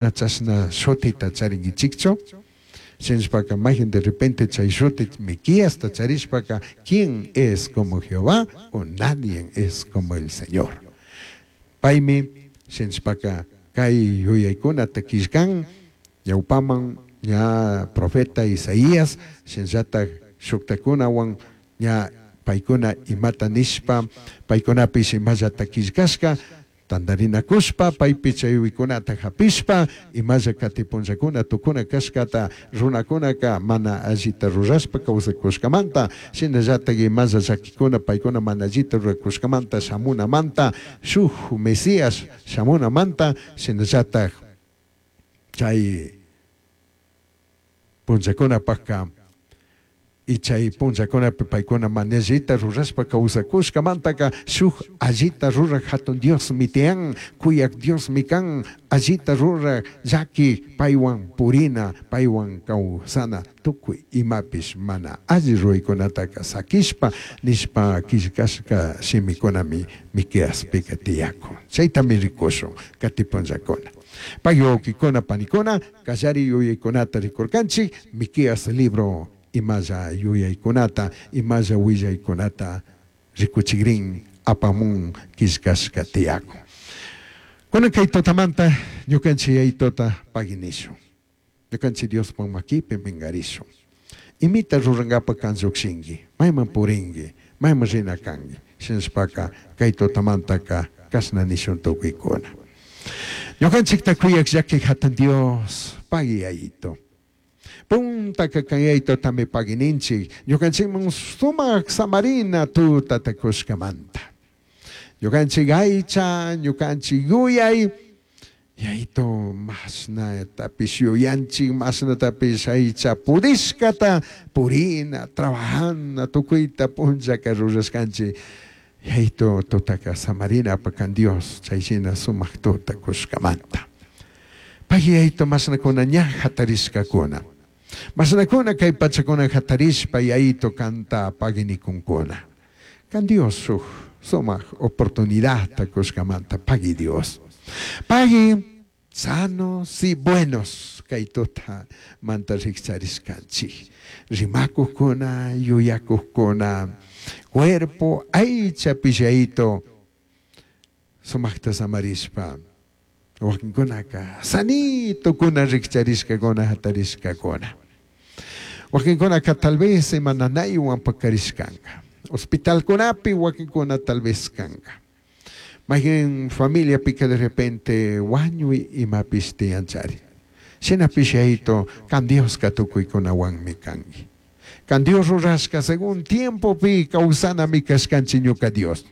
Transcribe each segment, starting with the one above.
Chashna shutita charinguichijchu? Shinashpaca mayjin de repente chay shuti Miqueasta charishpaca, ¿quién es como Jehová? O nadie es como el Señor. Paimi shinashpaca kay yuyaicunata quillcan ñaupaman ña profeta Isaías shinallataj shujtacunahuan ña paicuna imata nishpa paicunapish imallata quillcashca tandarinacushpa paipi chay yuyaicunata japishpa imalla cati punllacuna tucuna cashcata runacunaca mana allita rurashpa causacushcamanta shinallataj imalla llaquicuna paicuna mana allita ruracushcamanta shamunamanta shuj Mesías shamunamanta shinallataj chay punllacunapajca y chay punllacunapi paicuna mana allita rurashpa causacushcamantaca shuj allita ruraj jatun Diosmi tiyan, cuyaj Diosmi can, allita ruraj llaqui paihuan purina, paihuan causana tucui imapish mana alli ruraicunataca saquishpa nishpa quillcashca shimicunami Miqueaspica tiyacun. Chaitami ricushun cati punllacuna. Pagui huauquicuna panicuna callari yuyaicunata ricurcanchij Miqueas libro imalla yuyaicunata, imalla huillaicunata ricuchigrin apamun quillcashca tiyacun. Cunan cay tutamanta ñucanchij Yayitota pagui nishun. Ñucanchij Diospaj maquipi mingarishun. Imita rurangapaj can llujshingui, maiman puringui, maiman rina cangui. Shinashpaca cay tutamantaca cashna nishun tucuicuna. Ñucanchijta cuyaj llaquij jatun Dios, pagui Yayito. Puntaca can Yayitotami pagui ninchij, ñucanchijman sumaj samarina tutata cushcamanta. Ñucanchij aicha, ñucanchij yuyai, Yayito mashnatapish yuyanchij, mashnatapish aicha pudishcata purina, trabajana, tucuita punllaca rurashcanchij. Yayito tutaca samarinapaj can Dios chay shina sumaj tuta cushcamanta. Pagui Yayito mashnacuna ña jatarishcacuna. Mashnacuna cai pachacuna jatarishpa Yayito canta pagui nicuncuna. Can Dios shuj sumaj oportunidadta cushcamanta pagui Dios. Pagui sanos y buenos cai tutamanta rijcharishcanchij. Rimacujcuna, yuyacujcuna, cuerpo aichapish Yayito sumajta samarishpa wakinkunaka sanitokuna rijcharishkakuna jatarishkakuna. Wakinkunaka tal vez ima nanaywan pakarishkanka. Hospitalkunapi wakinkuna tal vez kanka. Mayqin familiapika de repente wañuy imapish tiyanchari. Shinapish Yayito kan Dioska tukuykunawanmi kanki. Kan Dios rurashka según tiempopi kawsanami kashkanchik ñuka Dios.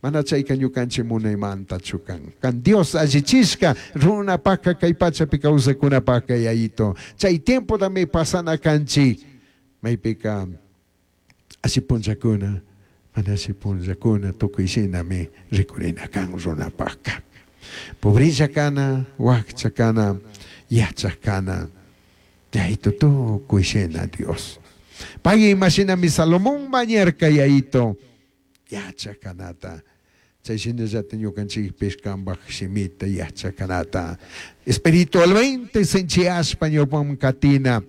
Mana chayka ñukanchik munaymantachu kan. Kan Dios allichishka runapaka kay pachapi kawsakunapaka Yayito. Chay tiempotami pasana kanchik. Maypika alli punllakuna, mana alli punllakuna tukuy shinami rikurina kan runapaka. Pobrilla kana, wakcha kana, yachak kana, Yayito tukuy shina Dios. Pay imashinami Salomón mañarka Yayito yachakanata. Chay shinallata ñukanchikpish kambaj shimita yachakanata. Espiritualmente sinchiyashpa ñawpaman katina.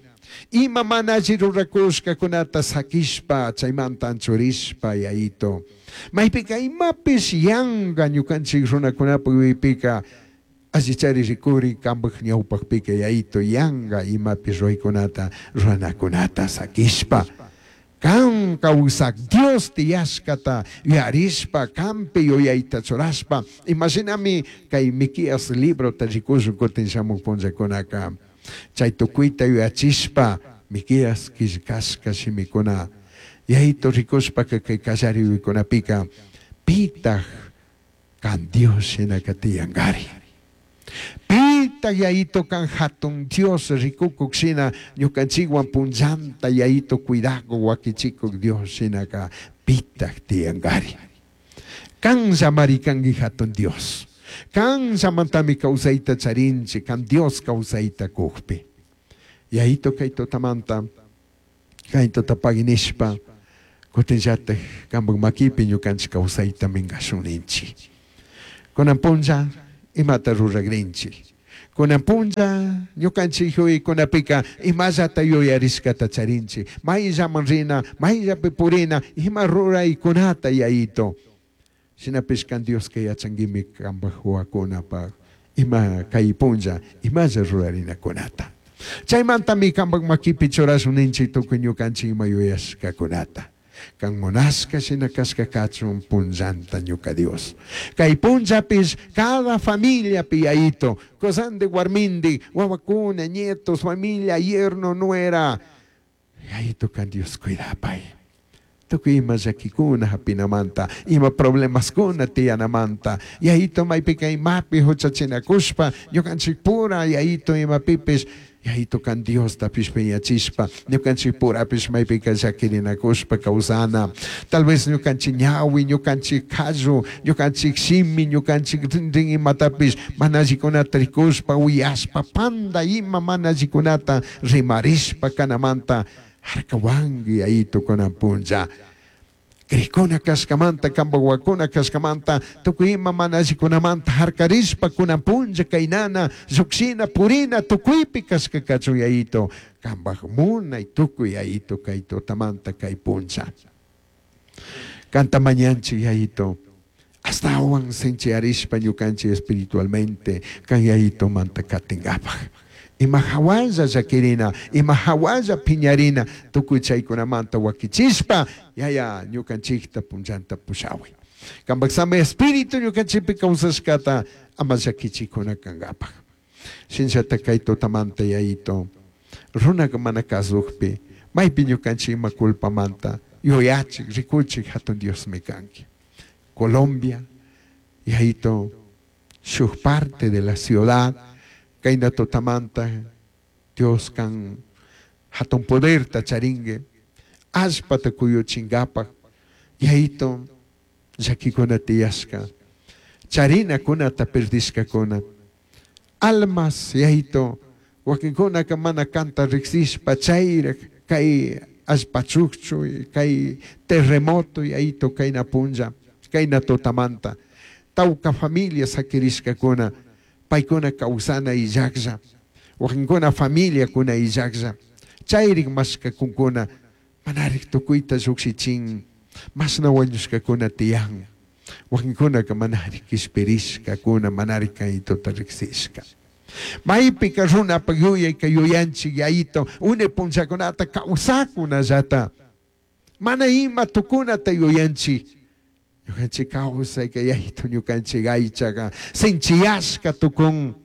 Ima mana alli rurakushkakunata sakishpa chaymanta anchurishpa Yayito. Maypika imapish yanka ñukanchik runakunapaj yuyaypika allichari rikuri kambaj ñawpakpika Yayito yanka imapish ruraykunata ruranakunata sakishpa. Kan kawsak Dios tiyashkata yuyarishpa kanpi yuyayta churashpa imashinami kay Miqueas librota rikushun kutin shamuk punllakunaka chay tukuyta yuyachishpa Miqueas quillcashka shimikuna Yayito rikushpaka kay kallari yuyaykunapika pitaj kan Dios shinaka tiyankari. Pitaj Yayito kan jatun Dios rikukuk shina ñukanchikwan punllanta Yayito cuidakuk wakichikuk Dios shinaka pitaj tiyankari. Kanllamari kanki jatun Dios. Kanllamantami kawsayta charinchik kan Dios kawsayta kukpi. Yayito kay tutamanta kay tutapagui nishpa kutinllataj kambaj makipi ñukanchik kawsayta minkashun ninchik. Kunan punlla imata ruragrinchik. Kunan punlla ñukanchik yuyaykunapika imallata yuyarishkata charinchik. Mayllaman rina, mayllapi purina, ima ruraykunata Yayito. Shinapish kan Dioska yachanguimi kanpaj huahuakunapaj ima kay punlla imalla rurarinakunata. Chaymantami kanpaj makipi churashun ninchik tukuy ñukanchik ima yuyashkakunata. Kan munashka shina kashka kachun punllanta ñuka Dios. Kay punllapish cada familiapi Yayito, kusandi warmindi, wawakuna, nietos, familia, yerno, nuera, Yayito kan Dios cuidapay. Tukuy ima llakikuna hapinamanta, ima problemaskuna tiyanamanta, Yayito maypika imapi huchachinakushpa, ñukanchik pura Yayito imapipish, Yayito kan Diostapish piñachishpa, ñukanchik purapish maypika llakirinakushpa kawsana. Tal vez ñukanchik ñawi, ñukanchik qallu, ñukanchik shimi, ñukanchik rinrin imatapish mana allikunata rikushpa, uyashpa, panda ima mana allikunata rimarishpa kanamanta harkawanki Yayito kunan punlla. Crikuna kashkamanta, kanpak wawakuna kashkamanta, tukuy ima mana allikunamanta harkarishpa kunan punlla kaynana, llukshina, purina, tukuypi kashka kachun Yayito, kanpak munay tukuy Yayito kay tutamanta kay punlla. Kanta mañanchik Yayito, ashtawan sinchiyarishpa ñukanchik espiritualmente kan Yayitomanta katinkapak. Ima hawalla llakirina, ima hawalla piñarina, tukuy chaykunamanta wakichishpa, Yaya ñukanchikta punllanta pushawi. Kanpak sami espíritu ñukanchikpi kawsashkata ama llakichikuna kankapak. Shinallata kay tutamanta Yayito, runaka mana kazukpi, maypi ñukanchik ima culpamanta yuyachik, rikuchik hatun Diosmi kanki. Colombia, Yayito, shuk parte de la ciudad, kayna tutamanta Dios kan hatun poderta charinki, allpata kuyuchinkapak, Yayito, llakikuna tiyashka, charinakunata perdishkakuna, almas, Yayito, wakinkunaka mana kanta riksishpa chayrak kay allpa chukchu, kay terremoto, Yayito, kayna punlla, kayna tutamanta, tawka familia sakirishkakuna, paykuna kawsana illaklla, wakinkuna familiakuna illaklla, chayrik mashkakunkuna, manarik tukuyta llukshichin, mashna wañushkakuna tiyan, wakinkunaka manarik kishpirishkakuna, manarik kaytuta riksishka. Maypika runapak yuyayka yuyanchik Yayito, une punllakunata kawsakunallata, mana ima tukunata yuyanchik. Ñukanchik kawsayka Yayito ñukanchik aychaka sinchiyashka tukun.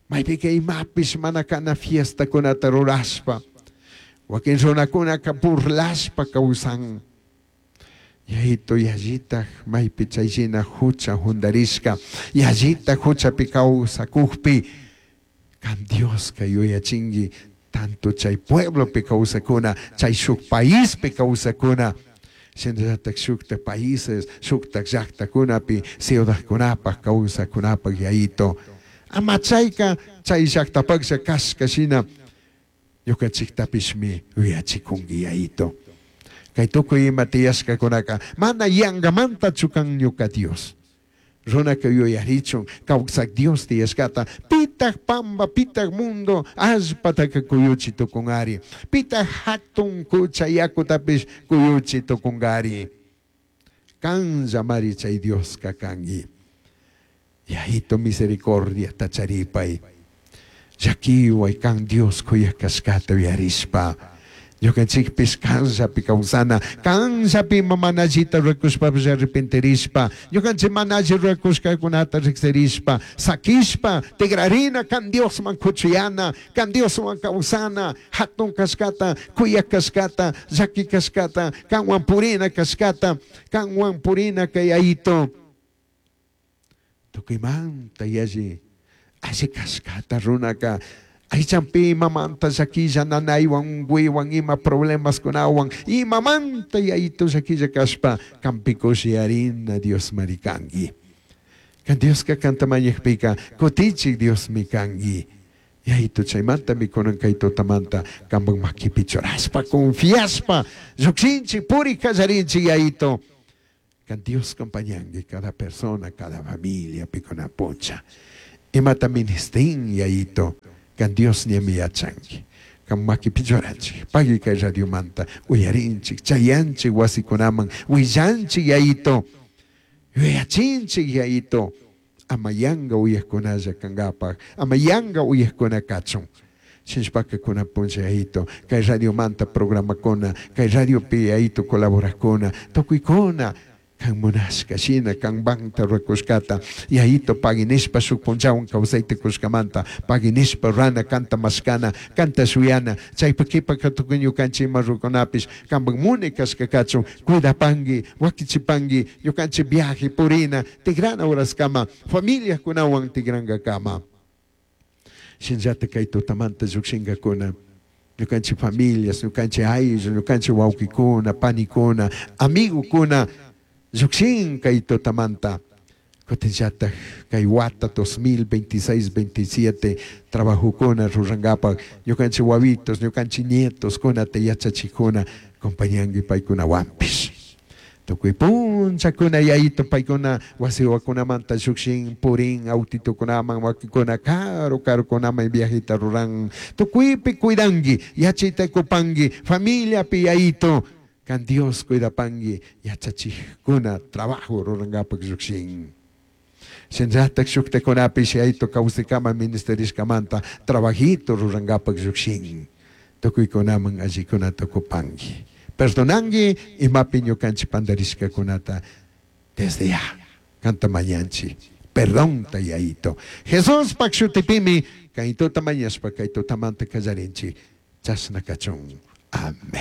Maypika imapish mana kana fiestakunata rurashpa, wakin runakunaka burlashpa kawsan. Yayito yallitaj maypi chayshina hucha jundarishka, yallitaj huchapi kawsakukpi, kan Dioska yuyachinki tanto chay pueblopi kawsakuna, chay shuk paispi kawsakuna, shinallatak shuktak países, shuktak llaktakunapi, ciudadkunapak kawsakunapak Yayito. Ama chayka chay llaktapaklla kashka shina ñukanchiktapishmi yuyachikunki Yayito. Kay tukuy ima tiyashkakunaka mana yankamantachu kan ñuka Dios. Runaka yuyarichun kawsak Dios tiyashkata, pitak pamba, pitak mundo allpataka kuyuchi tukunkari, pitak hatun kucha yakutapish kuyuchi tukunkari. Kanllamari chay Dioska kanki. Yayito misericordia tacharipay. Llakiway kan Dios kuyak kashkata yuyarishpa. Ñukanchikpish kanllapi kawsana, kanllapi ima mana allita rurakushpapish arrepentirishpa, ñukanchik mana alli rurakushkakunata riksirishpa, sakishpa, tigrarina kan Diosman kuchuyana, kan Dioswan kawsana, hatun kashkata, kuyak kashkata, llaki kashkata, kanwan purina kashkata, kanwan purina kay Yayito. Tukuymanta yalli alli kashkata runaka, aychanpi imamanta llakilla nanaywan, unkuywan, ima problemaskunawan, imamanta Yayito llakilla kashpa, kanpi kushiyarina Diosmari kanki. Kan Dioska kanta mañakpika, kutichik Diosmi kanki. Yayito chaymantami kunan kay tutamanta kanpak makipi churashpa, confiashpa, llukshinchik, puri kallarinchik Yayito. Kan Dios acompañanki cada persona, cada familia, pikuna puncha. Imata ministin Yayito, kan Dios ñami yachanki. Kan makipi churanchik, pagui kay radiomanta uyarinchik, chayanchik wasikunaman, willanchik Yayito, yuyachinchik Yayito, ama yanga uyajkunalla kankapaj, ama yanga uyajkuna kachun. Shinashpaka kunan punlla Yayito, kay radiomanta programakuna, kay radiopi Yayito colaborakuna, tukuykuna kan munashka shina kan banta rurakushkata Yayito pagui nishpa shuk punllawan kawsayta kushkamanta pagui nishpa rurana kanta mashkana kanta shuyana chaypak kipaka tukuy ñukanchik ima rukunapish kanpak munay kashka kachun cuidapanki wakichipanki ñukanchik viaje purina tigrana horaskama familiakunawan tigrankakama. Shinallatak kay tutamanta llukshinkakuna ñukanchik familias, ñukanchik ayllu, ñukanchik wawkikuna, panikuna, amigokuna llukshin kay tutamanta. Kutinllatak kay wata 2026, 27 trabajokuna rurankapak ñukanchik wawitos, ñukanchik nietos kunata yachachikuna compañanki paykunawanpish. Tukuy punllakuna Yayito paykuna wasiwakunamanta llukshin purin autitukunaman wakinkuna karu karukunaman viajeta ruran tukuypi cuidanki yachayta kupanki familiapi Yayito kan Dios cuidapanki yachachijkuna trabajo rurankapak llukshin. Shinallatak shuktakunapish Yayito kawsaykama ministerishkamanta trabajito rurankapak llukshin. Tukuykunaman allikunata kupanki. Perdonanki imapi ñukanchik pandarishkakunata desde ya kanta mañanchik. Perdonta Yayito. Jesuspak shutipimi kay tuta mañashpa kay tutamanta kallarinchik. Chashna kachun. Amén.